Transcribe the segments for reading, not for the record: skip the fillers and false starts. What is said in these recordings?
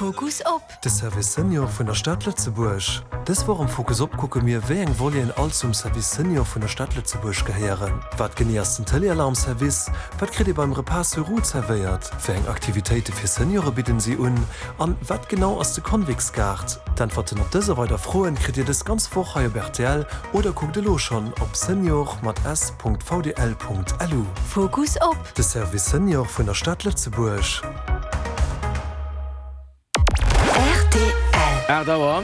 Fokus op. De Service Senior vun der Stad Lëtzebuerg. Dës Woch am Fokus op kucke mir, wéi eng Voleten all zum Service Senior vun der Stad Lëtzebuerg gehéieren. Wat genee ass den Téléalarm-Service? Wat kritt ee beim Repas sur roues zerwéiert? Wéi eng Aktivitéite fir Seniore bidden si un? An wat genau ass de Convicts-Gaart? D'Äntwerten op dës a weider Froen kritt Dir dës ganz Woch hei op rtl oder kuckt elo schonn op senior mat s.vdl.lu. Fokus op. De Service Senior vun der Stad Lëtzebuerg. Rtl. 8 Auer,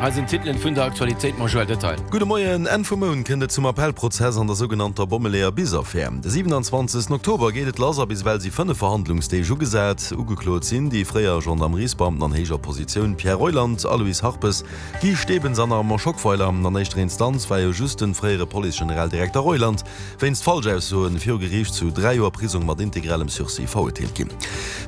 hei sinn d'Titelen vun der Aktualitéit mam Joël Detail. Gudde Moien. Enn vum Mount kënnt et zum Appellprozess an der sougenannter Bommeleeër-Bis-Affär. De 27 Oktober geet et lass a bis ewell si 5 Verhandlungsdeeg ugesat. Ugeklot sinn déi fréier Gendarmeriesbeamten an héijer Positioun Pierre Reuland, Aloyse Harpes, Guy Stebens an Armand Schockweiler. An éischter Instanz war jo just de fréiere Police-Generaldirekter Reuland wéinst Falschaussoen viru Geriicht zu 3 Joer Prisong mat integralem Sursis verurteelt ginn.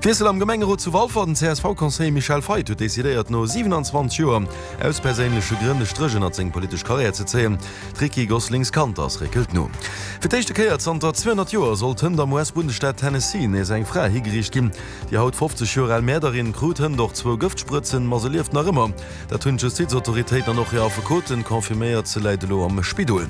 Wiessel am Gemengerot zu Walfer, Den CSV-Conseiller Michel Feith huet decidéiert, no 27 Joer aus perséinleche Grënn e Stréch ënnert seng politesch Karriär ze zéien. D'Ricky Goslings-Kanters réckelt no. Fir d'éischte Kéier zanter 200 Joer sollt hënt am US-Bundesstaat Tennessee nees eng Fra higeriicht ginn. Déi haut 50 Joer al Mäerderin krut hënt och zwou Gëftsprëtzen, ma se lieft nach ëmmer. Dat hunn d'Justizautoritéiten an och hir Affekoten confirméiert. Se läit elo am Spidol.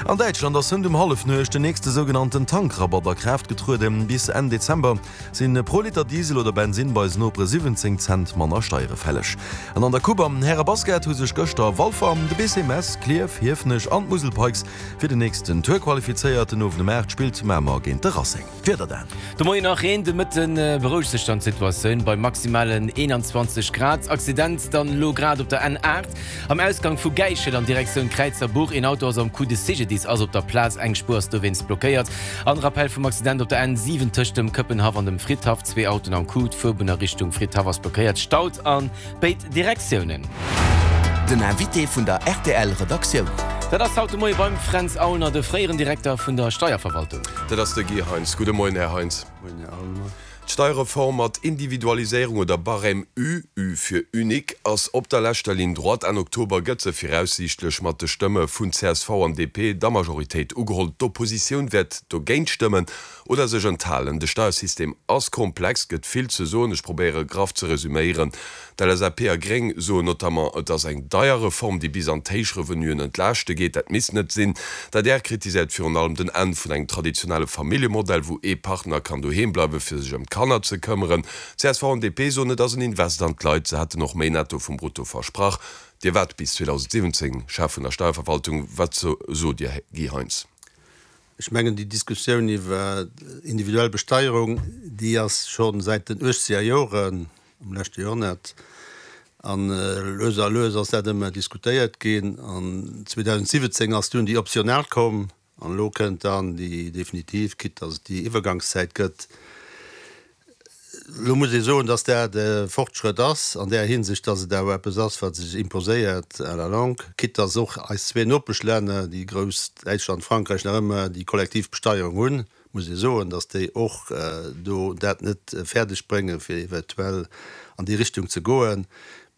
An Däitschland ass hënt um Hallefnuecht den nächste sougenannten Tankrabatt a Kraaft getrueden. Bis Enn Dezember si pro Liter Diesel oder Bensinn bei eisen Nopere 17 Cent manner Steiere fälleg. An an der Coupe am Härebasket hu sech gëschter Walfer, de BC Mess, Klierf, Hiefenech an d'Musel Pikes fir den nächsten Tour qualifizéiert. Den Owend um 8 spillt Mamer géint de Racing. D'Wieder dan. De Moien nach Reen, de Mëtte berouegt sech dann d'Situatioun bei maximalen 21 Grad. Accident dann elo grad op der N8 am Ausgang vu Gäichel an Direktioun Kräizerbuch. Een Auto ass am Coup, de CGDIS ass op der Plaz, eng Spuer ass dowéinst blockéiert. An Rappell vum Accident op der N7 tëscht dem Këppenhaff an dem Fridhaff, zwee Autoen am Coup, d'Fuerbunn a Richtung Fridhaff ass blockéiert, staut a béid Direktiounen. Den Invité vun der rtl Redaktioun. Dat ass haut de Moie beim Fränz Aulner, de fréieren Direkter vun der Steierverwaltung. Dat ass de Guy Heintz. Gudde Moien, Här Heintz. Moien, Här Aulner. D'Steierreform mat Individualiséierung oder Barème U, U fir unique, ass op der leschter Ligne droite. Enn Oktober gëtt se viraussiichtlech mat de Stëmme vun csv an DP der Majoritéit ugeholl. D'Oppositioun wäert dogéint stëmmen oder sech enthalen. De Steiersystem ass komplex, gëtt vill ze soen. Ech probéiere graff ze resüméieren. D'LSAP a Gréng soen notamment, et ass eng deier Reform, déi bis an d'héich Revenuen entlaaschte geet. Dat misst net sinn. D'adr kritiséiert virun allem den Enn vun engem traditionelle Familljemodell, wou ee Partner kann doheem bleiwen, fir sech ëm d'Kanner ze këmmeren. Csv an DP soen, et ass en Invest an d'Leit. Se hätten och méi Netto vum Brutto versprach. Dir waart bis 2017 Chef vun der Steierverwaltung. Wat sot Dir, Guy Heintz? Ech mengen, déi Diskussioun iwwer individuell Besteierung, déi ass scho säit den uechzeger Joren am leschte Joerhonnert, a lues a lues ass dat ëmmer diskutéiert ginn. An 2017 ass dunn déi optional komm an elo kënnt dann déi definitiv, quitte dass et déi Iwwergangszäit gëtt. Elo muss ee soen, dass dat e Fortschrëtt ass an där Hinsicht, dass et awer eppes ass, wat sech imposéiert à la longue, quitte dass och eis zwee Nopeschlänner, déi grouss Däitschland, Frankräich, nach ëmmer déi kollektiv Besteierung hunn, muss ee soen, dass déi och do dat net fäerdeg bréngen, fir eventuell an déi Richtung ze goen.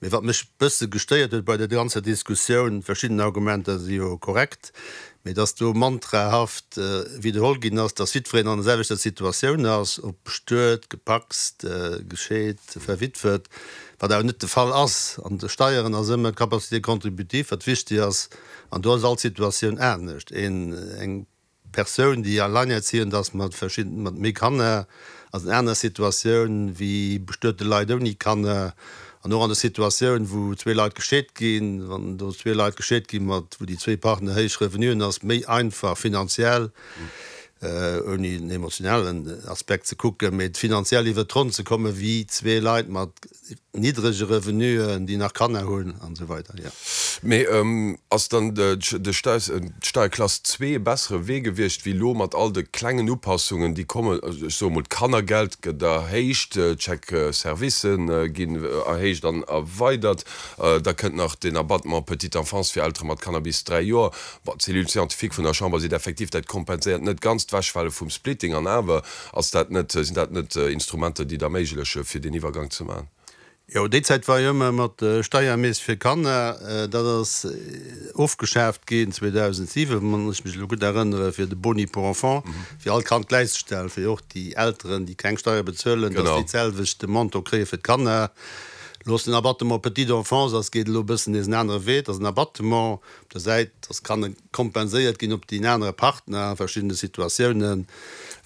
Mee wat mech e bësse gestéiert huet bei der ganzer Diskussioun, verschidden Argumenter si jo korrekt, mee dass do mantrahaft widderholl ginn ass, dass jiddwereen an der selwechter Situatioun ass, ob bestuet, gepacst, gescheet, verwitwet, wat awer net de Fall ass. An de Steieren ass ëmmer d'Capacité contributive, wat wichtig ass, an do ass all Situatioun anescht. Een, eng Persoun, déi alleinerziehend ass mat verschidden, mat méi Kanner, ass en aner Situatioun wéi bestuete Leit ouni Kanner. An och an der Situatioun, wou zwee Leit gescheet ginn, wann do zwee Leit gescheet gi mat, wou déi zwee Partner héich Revenuen, ass méi einfach finanziell, ouni den emotionalen Aspekt ze kucken, mee finanziell iwwert d'Ronn ze kommen, wéi zwee Leit mat niddrege Revenuen, déi nach Kanner hunn an esou weider, jo. Mee ass dann d'Steierklass zwee e bessere Wee gewiescht wéi elo mat all de klengen Upassungen, déi kommen? Ech soe mol, d'Kannergeld gëtt erhéicht, d'Chèques-servicen ginn erhéicht an erweidert, da kënnt nach den Abattement petite enfance fir Eltere mat Kanner bis 3 Joer. Bon, d'Cellule scientifique vun der Chamber seet effektiv, dat kompenséiert net ganz d'Wechfale vum Splitting an awer Ass dat net, sinn dat net Instrumenter, déi et erméigleche fir deen Iwwergang ze maachen? Jo, déi Zäit war jo ëmmer mat Steiermees fir Kanner. Dat ass ofgeschaaft ginn 2007, wann ech mech elo gutt erënnere, fir de Boni pour enfant fir all Kand gläichzestellen, fir och déi Elteren, déi keng Steier bezuelen, datt déi d'selwecht de Montant kréie fir d'Kanner. Elo ass den Abattement petite enfance ass geet elo e bëssen nees en anere Wee. Et ass en Abattement op der Säit, dass kann kompenséiert ginn op deen anere Partner a verschiddene Situatiounen.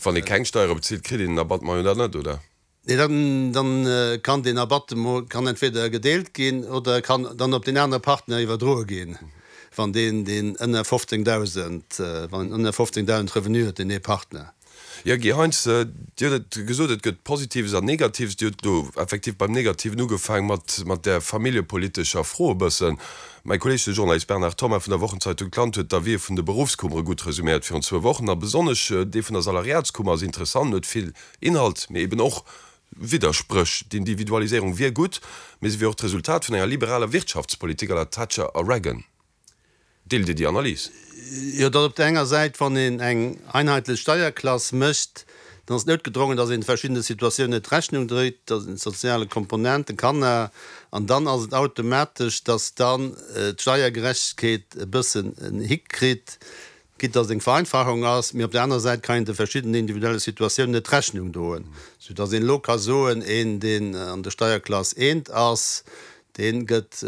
Wann ee keng Steiere bezilt, kritt een den Abattement jo dann net, oder? Nee, dann, dann kann deen Abattement kann entweder gedeelt ginn oder e kann dann op deen anere Partner iwwerdroe ginn, wann deen, deen ënner 15.000, wann en ënner 15.000 Revenu huet, deen ee Partner. Jo, Guy Heintz, Dir hutt et gesot, et gëtt Positives an Negatives. Dir hutt elo effektiv beim Negativen ugefaang mat, mat där familljepolitescher Fro e bëssen. Mäi Kolleeg, de Journalist Bernard Thomas vun der Wochenzeitung D'Land huet d'Avisë vun de Beruffskummere gutt resuméiert virun zwou Wochen. A besonnesch dee vun der Salariatskummer ass interessant, huet vill Inhalt, mee eben och Widderspréch. D'Individualiséierung wier gutt, mee se wier och d'Resultat vun enger liberaler Wirtschaftspolitik à la Thatcher a Reagan. Deelt Dir déi Analys? Jo, datt op der enger Säit, wann een eng einheetlech Steierklass mécht, dann ass et noutgedrongen, datt een verschiddene Situatiounen net Rechnung dréit, datt een soziale Komponenten, Kanner, an dann ass et automatesch, datt dann d'Steiergerechtegkeet e bëssen en Hick kritt, quitte datt et eng Vereinfachung ass, mee op der anerer Säit kann een de verschiddenen individuelle Situatiounen net Rechnung droen, soudatt een elo ka soen, een deen an der Steierklass eent ass, dee gëtt,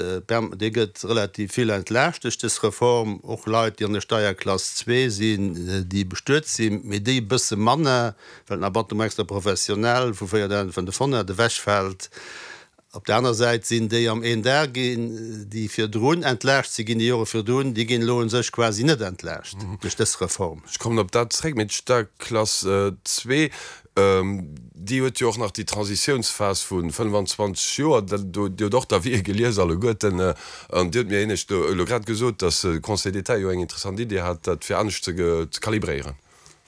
dee gëtt relativ vill entlaascht duerch dës Reform, och Leit déi an der Steierklass zwee sinn, déi bestuet sinn, mee déi e bësse manner, well den Abattement extra-professionnel vu 4.500 ewechfält. Op der aner Säit sinn déi am een Dag ginn, déi virdrun entlaascht si ginn, déi Jore virdrun, déi ginn elo u sech quasi net entlaascht duerch dës Reform. Ech kommen op dat zréck, mee d'Steierklass zwee, déi huet jo och nach déi Transitiounsphas vu 25 Joer. Dir hutt och d'Avisë gelies alleguerten an Dir hutt mir éinescht elo grad gesot, datt de Conseil d'État jo eng interessant Idee hat, dat fir anescht ze kalibréieren.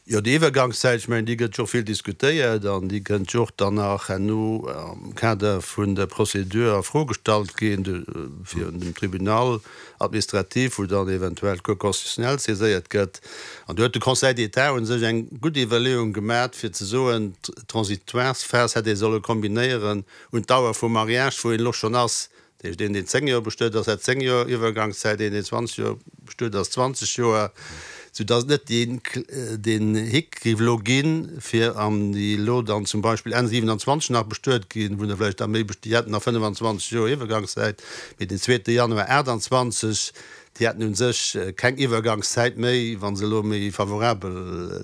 Jo, déi Iwwergangszäit, ech mengen, déi gëtt jo och vill diskutéiert an déi kënnt jo och dann nach herno am Kader vun der Procédure a Fro gestallt ginn virun dem Tribunal administratif, wou dann eventuell d'Cour constitutionnelle saiséiert gëtt. An do huet de Conseil d'État u sech eng gutt Iwwerleeung gemat, fir ze soen, d'Transitoiresphas hätt ee solle kombinéieren un d'Dauer vum Mariage, wou een elo schonn ass. Dat heescht, een, deen 10 Joer bestuet ass, hätt 10 Joer Iwwergangszäit, een, deen 20 Joer bestuet ass, 20 Joer, soudatt et net deen, deen Hick géif elo ginn, fir an déi elo dann zum Beispill Enn 27 nach bestuet ginn, wou der vläicht da méi, déi hätten nach 25 Joer Iwwergangszäit, mee den zweete Januar 28, déi hätten u sech keng Iwwergangszäit méi, wa se elo méi favorabel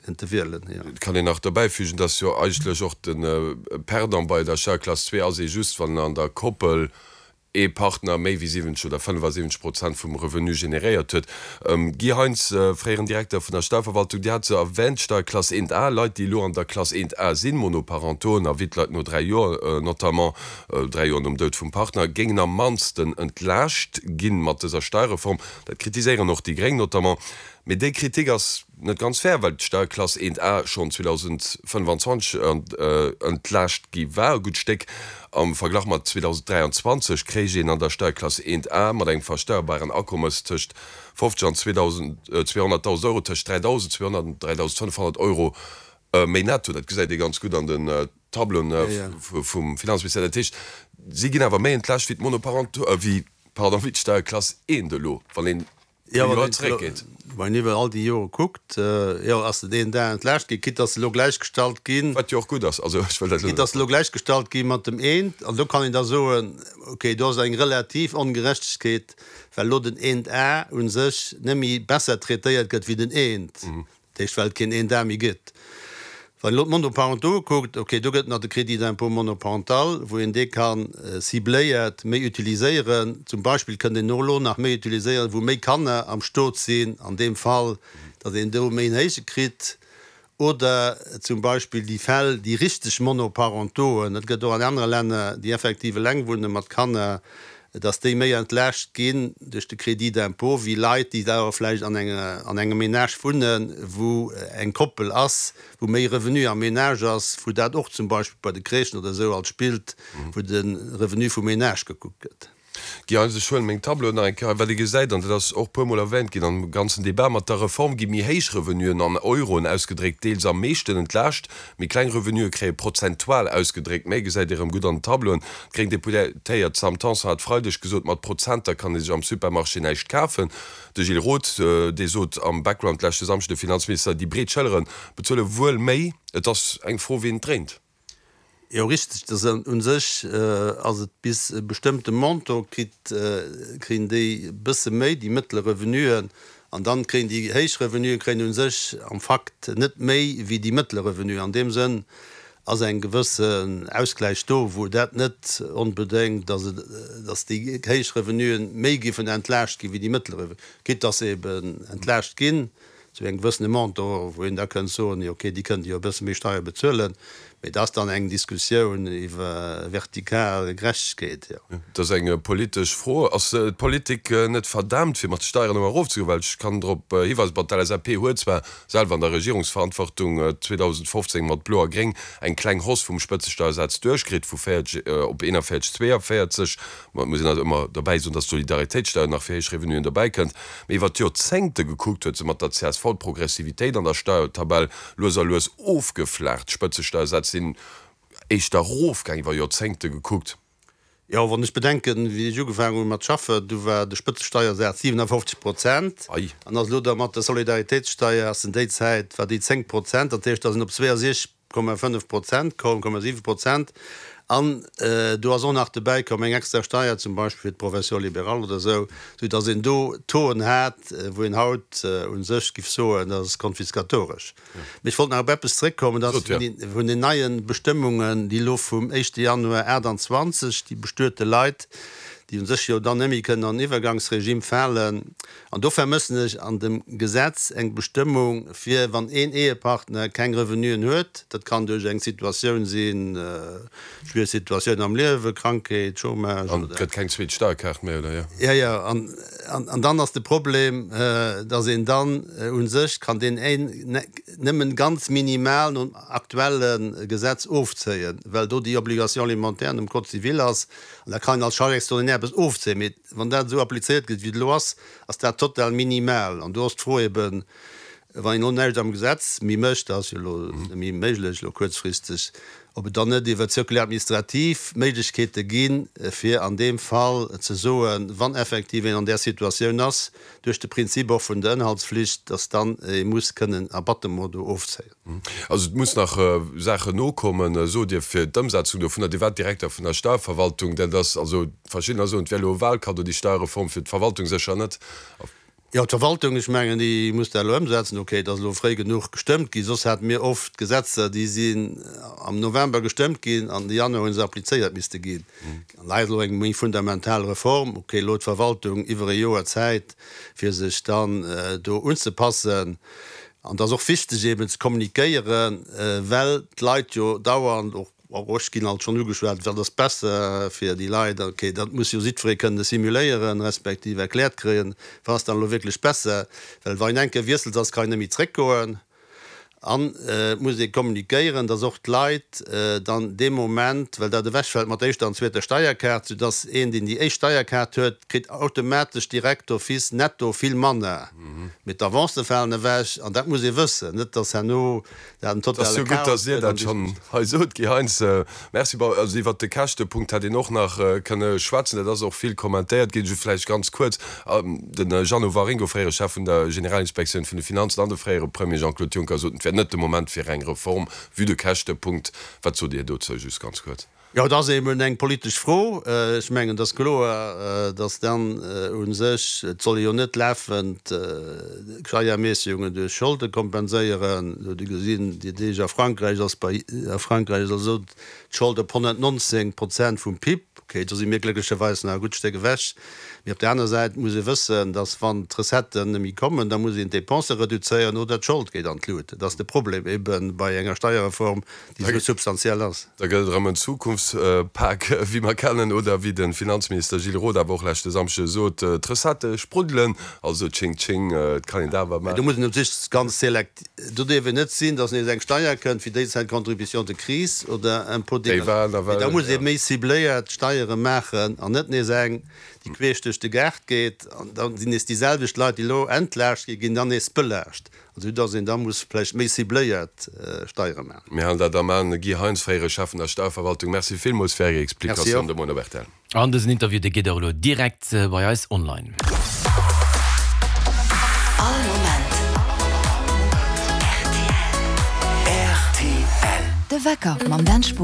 Kënnte wielen, jo. Et kann een nach dobäifügen, dass jo eigentlech och de Perdant bei der Steierklass 2 ass ee just, wann an der Koppel ee Partner méi wéi 70 oder 75 Prozent vum Revenu generéiert huet. Guy Heintz, fréieren Direkter vun der Steierverwaltung, Dir hat se erwähnt, d'Steierklass 1 A, Leit, déi elo an der Klass 1 A sinn, Monoparentoen a Wittleit no 3 Joer notamment, 3 Joer nom Doud vum Partner, géingen am mannsten entlaascht ginn mat dëser Steierreform. Dat kritiséieren och déi Gréng notamment. Mee déi Kritik ass net ganz fair, well d'Steierklass 1 A schonn 2025 entlaascht gi war, e gutt Stéck. Am Verglach mat 2023 kréich een an der Steierklass 1 A mat engem versteierbaren Akommes tëscht 50 an 200.000 Euro tëscht 3.200 an 3.500 Euro méi netto. Dat gesäit ee ganz gutt an den Tableauen vum Finanzministère. Dat heescht, si ginn awer méi entlaascht wéi d'Monoparentaux, wéi, pardon, wéi d'Steierklass 1 elo, wann een Jo, wann een wann een iwwer all déi Jore kuckt, jo, ass den een Dag entlaascht ginn, quitte dass se elo gläichgestallt ginn. Wat jo och gutt ass, also ech wëll dat elo net. Quitte dass se elo gläichgestallt gi mat dem eent, an do kann een da soen, okay, do ass eng relativ Ongerechtegkeet, well elo den eent A u sech net méi besser traitéiert gëtt wéi den eent. Dat heescht, well et keen een Dag méi gëtt. Wann een elo d'Monoparentaux kuckt, okay, do gëtt et nach de Crédit d'impôt monoparental, wou een dee ka cibléiert méi utiliséieren. Zum Beispill kënnt een och elo nach méi utiliséieren, wou méi Kanner am Stot sinn, an deem Fall, datt een do méi en héije kritt. Oder zum Beispill déi Fäll, déi richteg Monoparentoen, dat gëtt och an anere Länner, déi effektiv eleng wunne mat Kanner, dass déi méi entlaascht ginn duerch de Crédit d'impôt wéi Leit, déi awer vläicht an enger, an engem Ménage wunnen, wou eng Koppel ass, wou méi Revenu am Ménage ass, wou dat och zum Beispill bei de Crèchen oder esou alt spillt, wou de Revenu vum Ménage gekuckt gëtt. Guy Heintz, Ech huelen meng Tableauen nach eng Kéier hei. Wat ee gesäit, an dat ass och puermol erwähnt ginn am ganzen Debat, mat der Reform gi méi héich Revenuen an Euroen ausgedréckt deels am meeschten entlaascht, Méi kleng Revenuë kréie prozentual ausgedréckt méi, gesäit Dir erëm gutt an den Tableauen. D'gréng Deputéiert Sam Tanson hat Freideg gesot, mat Prozenter kann ee sech am Supermarché näischt kafen. De Gilles Roth, dee sot am Background leschte Samschden, de Finanzminister, déi breet Schëllere bezuele wuel méi. Et ass eng Fro, wien et dréint. Jo, richteg. Dat ass u sech ass et bis e bestëmmte Montant kritt, kréien déi e bësse méi, déi mëttele Revenuen, an dann kréien déi héich Revenuen kréien u sech am Fakt net méi wéi déi mëttele Revenuen. An deem Sënn ass eng gewëssen Ausgläich do, wou dat net onbedéngt, dass et, dass déi héich Revenuen méi giffen entlaascht gi wéi déi mëttele Revenuen, quitte dass se eben entlaascht ginn zu engem gewëssene Montant, wou een da kënnt soen, jo okay, déi kënnte jo e bësse méi Steier bezuelen, mee dat ass dann eng Diskussioun iwwer vertikal Gerechtegkeet, jo. Dat ass eng politesch Fro. Ass d'Politik net verdaamt, fir mat de Steieren ëmmer erofzegoen? Well ech kann drop hiweisen, bon, d'LSAP huet zwar selwer an der Regierungsverantwortung 2015 mat Blo a Gréng eng kleng Hausse vum Spëtzesteiersaz duerchkritt, vu 40 op 41, 42. Ma et muss een also ëmmer derbäi soen, dass d'Solidaritéitssteuer nach fir héich Revenuen dobäi kënnt. Mee iwwer d'Joerzéngte gekuckt huet se mat der csv d'Progressivitéit an der Steiertabell lues a lues ofgeflaacht. D'Spëtzesteiersätz sinn éischter erofgaang iwwer Joerzéngte gekuckt. Jo, wann ech bedenken, wéi ech ugefaangen hu mat schaffen, du war de Spëtzesteiersaz 57 Prozent an ass elo da mat der Solidaritéitssteuer ass en déi Zäit war déi 10 Prozent, dat heescht, da sinn op 62 7 Prozent koum, 7 Prozent, an do ass och nach dobäi komm eng extra Steier zum Beispill fir d'Profession libérale oder esou, sou datt een do Tauxen hat, wou een haut u sech giff soen, dat ass konfiskatoresch. Mee ech wollt nach op eppes zréckkommen, dat ass vun den neie Bestëmmungen, déi elo vum éischte Januar 28 déi bestuete Leit, déi u sech jo dann net méi kënnen an den Iwwergangsregime falen, An do vermëssen ech an dem Gesetz eng Bestëmmung, fir wann een Ehepartner keng Revenuen huet, dat kann duerch eng Situatioun sinn, schwiereg Situatioun am Liewen, Krankheet, Chômage An et oder. gëtt keng zweet Steierkaart méi, oder jo? Jo, jo. An, an dann ass de Problem, dass een dann u sech kann deen een nëmmen ganz minimal nom aktuelle Gesetz ofzéien, well do déi Obligation alimentaire nom Code civil ass, an da kann een als Charge extraordinaire eppes ofzéien. Mee Wann dat esou applizéiert gëtt, wéi et elo ass, ass dat total minimal. An do ass d'Fro eben, wann een elo näischt am Gesetz méi mécht, dat ass jo elo net méi méiglech, elo kuerzfristeg, ob et dann net iwwer d'Circulaire administrative Méiglechkeete ginn, fir an deem Fall ze soen, wann effektiv een an där Situatioun ass, duerch de Prinzip och vun der Ënnerhaltsflicht, dass dann ee muss kënnen Abattement do ofzéien. Also et muss nach Saachen nokommen, sot Dir, fir d'Ëmsetzung dovunner. Dir waart Direkter vun der Steierverwaltung. Dat ass also, verschiddener soen, et wär elo e Wahlkaddo, déi Steierreform, fir d'Verwaltung sécher net. Jo, d'Verwaltung, ech mengen, déi muss dat elo ëmsetzen. Okay, et ass elo fréi genuch gestëmmt ginn, soss hate mir oft Gesetzer, déi sinn am November gestëmmt ginn an de Januar hu se applizéiert misste ginn. An hei ass elo eng méi fundamental Reform. Okay, elo huet d'Verwaltung iwwer e Joer Zäit, fir sech dann do unzepassen. An et ass och wichteg eben ze kommunikéieren, well d'Leit jo dauernd, och ech ginn alt schonn ugeschwat, wat ass besser fir déi Leit. Okay, dat muss jo jiddweree kënne simuléieren, respektiv erkläert kréien, wat ass dann elo wierklech besser. Well wa een eng Kéier wiesselt ass, kann een net méi zréckgoen. An et muss ee kommunikéieren, dass och d'Leit dann dee Moment, well dat ewechfält mat der éischter an zweeter Steierkaart, soudass een, deen déi éischt Steierkaart huet, kritt automatesch direkt d'office netto vill manner, mee d'Avancë falen ewech. An dat muss ee wëssen, net dass herno dat en Et ass totale jo gutt, Chaos dass Dir gëtt dat an déi. schonn hei sot, Guy Heintz. Merci. Bon, also iwwert de Käschtepunkt hätt een och nach kënne schwätzen. Dat ass och vill kommentéiert ginn. Just vläicht ganz kuerz, De Jeannot Waringo, fréiere Chef vun der Generalinspektioun vun de Finanzen, an de fréiere Premier Jean-Claude Juncker soten, et wär net de Moment fir eng Reform, vue de Käschtepunkt. Wat sot Dir dozou, just ganz kuerz? Jo, et ass eben eng politesch Fro. Ech mengen, et ass kloer, datt dann u sech, et soll ee jo net lafend Steierermässegungen duerch Scholde kompenséieren. Elo hutt Dir gesinn, déi Deeg a Frankräich ass bei, a Frankräich ass esou d'Schold op 119 Prozent vum PIB. Okay, do si mir glécklecherweis nach e gutt Stéck ewech. Mee op där aner Säit muss ee wëssen, datt wann d'Recetten net méi kommen, da muss een d'Dépensë reduzéieren oder d'Schold geet an d'Lut. Dat ass de Problem ebe bei enger Steierreform, déi esou substantiell ass. Da gëtt et erëm en Zukunftspak, wéi mer kennen, oder wéi de Finanzminister Gilles Roth awer och leschte Samschde sot, d'Recettë spruddelen, also tsching tsching, et kann een dat awer Mee do maachen. muss een u sech ganz selekt. Do dierf et net sinn, datt nees eng Steier kënnt, wéi déi Zäit Contribution de crise oder Impôt Déi war d'énergie. Mee nawell, da muss ee ja. méi cibléiert Steiere maachen an net nees eng, déi queesch duerch de Gaart geet. An da sinn nees déi selwecht Leit, déi elo entlaascht gi ginn, dann nees belaascht. Also datt een da muss vläicht méi cibléiert Steiere maachen. Mir halen dat am An. Guy Heintz, fréiere Chef vun der Steierverwaltung, Merci villmools fir Är Merci Explikatioun och. de Moien op rtl. An dësen Interview, dee geet och elo direkt bei eis online. All Moment rtl. De Wecker mam Dan Spohr.